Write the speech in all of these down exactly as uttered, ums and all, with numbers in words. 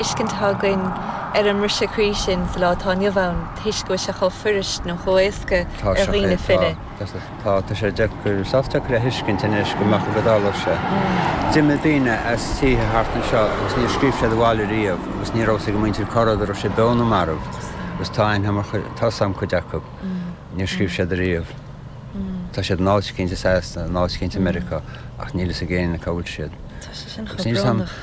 Tuiscint atá againn ar an mbriseadh croí sin sa lá atá inniu ann toisc go bhfuil sé chomh fuirist nó chomh éasca Tá ar sé dhaoine tá filleadh. tá tá sé deacair sách deacair a thuiscint anois go mbeadh go dtarlódh sé. D'imigh daoine as tithe thart anseo agus níor scríobh siad abhaile riamh agus ní raibh a fhios ag a muintir cá raibh siad beo nó marbh agus tá aithne mar tá a fhios agam cuid acu. Níor scríobh siad riamh. Tá siad in áit éicint i Sasana, in áit éicint i Meiriceá ach níl a fhios ag éinne cá bhfuil siad. Tá sé sin Agus chomh níl a fhios agam brónach.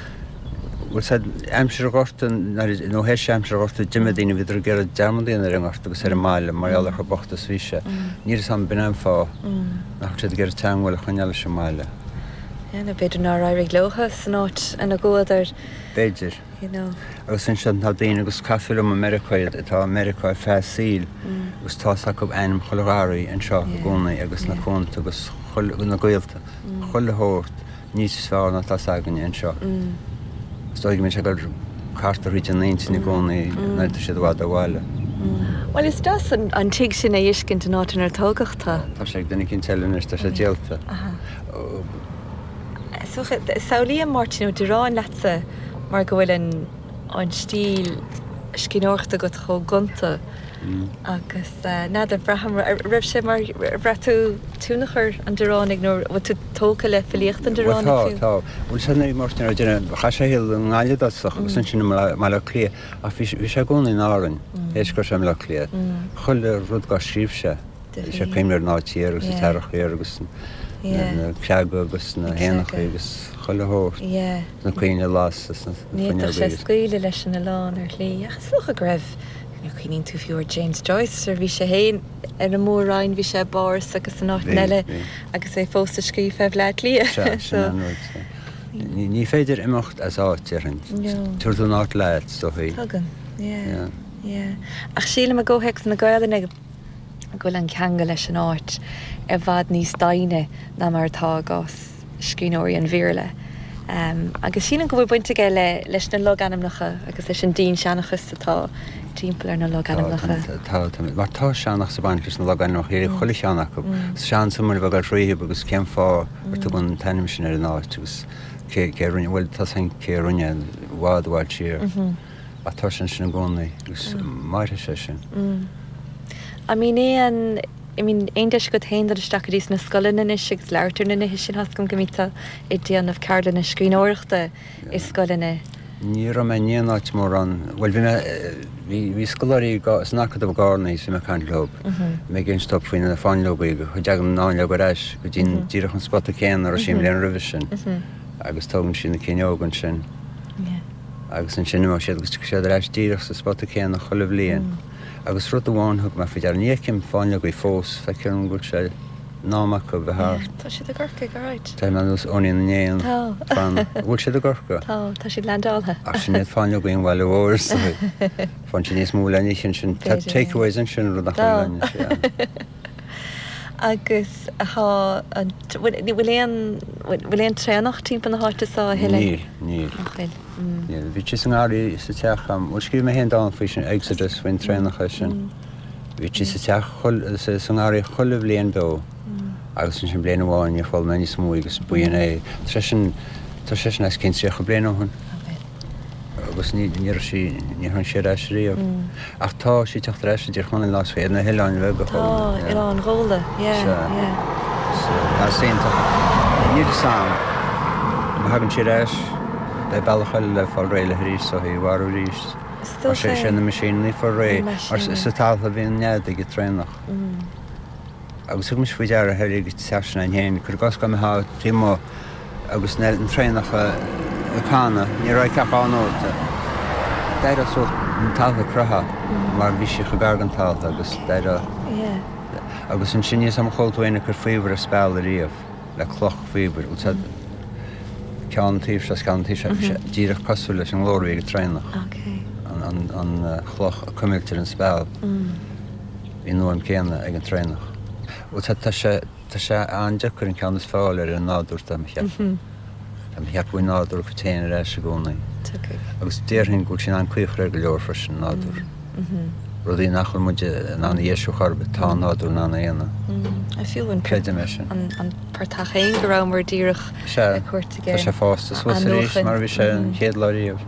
bhfuil said aimsir Ghorta nó théis aimsir Ghorta d'imigh daoine bhíodar ag iarraidh dearmad a dhéanamh ar an ngorta agus ar an mbaile mar gheall ar chomh bocht is bhí sé. Níl a fhios agam b'in é an fáth nach bhfuil siad ag iarraidh teagmháil a choinneáil leis an mbaile. Yeah, nó b'fhéidir nár éirigh leo san áit ina gcuadar. B'fhéidir. You know. Agus ansin tá daoine agus cosúil liom i Meiriceá iad atá i Meiriceá ar feadh a saoil agus tá a fhios acu ainm chuile gharraí anseo i gcónaí agus na cuanta agus chuile na gaolta chuile shórt níos fearr ná tá a fhios againne anseo. Is dóigh go mbíonn sé ag dul thart thríd an intinn i gcónaí nuair atá siad i bhfad ó bhaile. Well is deas an, an tigh sin a fheiscint an áit inar tógadh tú. Tá sé ag duine éicint eile anois, tá sé díolta. So samhlaím Máirtín Ó Direáin leatsa mar go bhfuil an an stíl scríbhneoireachta agat chomh gonta agus n'fheadar braithim raibh sé mar bhraith tú tionchar an Direánaigh nó bhfuil tú tógtha le filíocht an Bhuel Direánaigh tá fiú? tá bhfuil sé nuair Máirtín Ó Direáin chaith sé a shaol i nGaillimh i dtosach agus ansin i mBaile Átha Cliath ach bhí bhí sé i gcónaí in Árainn théis go raibh sé i mBaile Átha Cliath. Chuile rud dár scríobh sé bhí sé cuimhne ar an áit thiar agus an t-earrach thiar agus na creaga agus na héanacha agus chuile shórt na coinnle las agus na Ní fhéadfadh fuinneoga sé agus scaoileadh leis an oileán ar shlí ach is dócha go raibh nó cuimhníonn tú fiú ar James Joyce ar bhí sé féin ar an Mór-Roinn bhí sé i bPáras agus in áiteanna Bhí eile bhí. agus é fós ag scríobh fé Bhleá Cliath. Sea sin an rud. Ní ní féidir imeacht as áit déarfainn. No. Tabharfaidh tú an áit leat is dóichí. Tugann, yeah, Yeah. yeah. Ach sílim i gcomhthéacs na Gaelainne go bhfuil an ceangal leis an áit i bhfad níos doimhne ná mar atá i gcás scríbhneoirí an Bhéarla. Um, agus sílim go bhfuil baint aige le leis na logainmneacha agus leis an dinnseanchas atá timpeall ar na logainmneacha. Tá tá mar tá seanchas ag baint leis na logainmneacha ar chuile cheann acu. Seans mar bheith ag fríob agus cén fáth ar tugadh an t-ainm sin ar an áit agus cé cé rinne bhfuil tá san cé rinne i bhfad i bhfad siar. Ach tá sin sin i gcónaí agus mairfidh sé sin. I mean aon I mean aon deis agat féin dul isteach go dtí sna scoileanna anois agus labhairt ar na nithe sin go mbíonn tú ag déanamh ceardlanna scríbhneoireachta i scoileanna. Ní raibh mé in aon áit mórán bhuel bhí mé bhí bhí scoláirí san Acadamh i gCarna is bhí mé ag caint leo. Mé ag inse dóibh faoi na fáinleogaí go dtagann an fháinleog ar ais go dtí díreach an spota céanna a raibh sí an bhliain roimhe sin. Agus tógann sí na cinn óga ansin. Agus ansin imeoidh siad agus tiocfaidh siad ar ais díreach sa spota céanna chuile bhliain. Agus rud amháin thug mé faoi deara ní fheicim fáinleogaí fós feictear dom go bhfuil sé in am acu bheith thart. Tá siad i gCorcaigh, alright. Tá mé nós Eoinín na nÉan. Tá. Fan bhfuil siad i gCorcaigh? Tá, tá siad leaindeáltha. Ach sin iad fáinleogaí an bhaile mhóir Faigheann siad níos mó le n-ithe ansin B'fhéidir, yeah. takeaways ansin rud nach Tá. bhfuil anois, yeah. Agus tá an bhfuil bhfuil aon bhfuil aon traonach timpeall na háite seo a thuilleadh? Níl, níl. Nach bhfuil. Mm. Níl. Bhí sí sa ngarraí sa teach am, bhuel scríobh mé féin dán faoi sin Exodus faoin traonach sin. Bhí sí sa teach chuile- sa sa ngarraí chuile bhliain beo. Agus ansin bliain amháin níor chuala mé níos mó agus b'in é. Tá sé sin tá sé sin os cionn tríocha bliain ó shin. Agus ní ní raibh sí ní tháinig sí ar ais riamh. Ach tá sí ag teacht ar ais i dTír Chonaill ná ar na hoileáin bheaga Tá, Oileán Ghabhla, yeah, Sea. yeah. Tá iontach. Níl a fhios agam. Má thagann sí ar ais beidh bealach eile le fáil réidh léi arís so í a mharú arís. Is Mar sé dócha sé na meaisíní fáil réidh Na mar meaisíní. sa talamh a bhíonn nead ag an traonach. Agus thug mise faoi deara ar ag teach sin féin cuir i gcás go mbeifeá taobh amuigh agus na an traonach ag canadh ní raibh ceach dhá nóta. D'éireodh suas an talamh ag croitheadh mar bhí sí chomh gar don talamh agus d'éireodh Yeah. agus ansin níl a fhios agam ar chuala tú éinne ag cur faobhar ar speal ariamh le cloch faobhair úsáid ceann an taobh seo is ceann an taobh seo bhí sé díreach cosúil leis an nglór a bhí ag an traonach. Okay. An, an, an uh, chloch a cuimilt ar an speal. Bhí an fhuaim céanna ag an traonach. Tá tá sé tá sé an-deacair an ceann is fearr ar an nádúr tá mé ag ceapadh. Tá mé ag ceapadh an nádúr go téann ar ais i gcónaí. Tiocfaidh. Agus déarfainn go bhfuil sin an-chaochar ar go leor freisin an nádúr. Rudaí nach bhfuil muid in ann a dheisiú chor ar bith, tá an nádúr in ann a dhéanamh. Mm. Fiú an Creidim é sin. an, an portach féin go rabhamar díreach Sea, ag cuairt tá sé fásta suas arís mar a bhí sé an chéad lá riamh.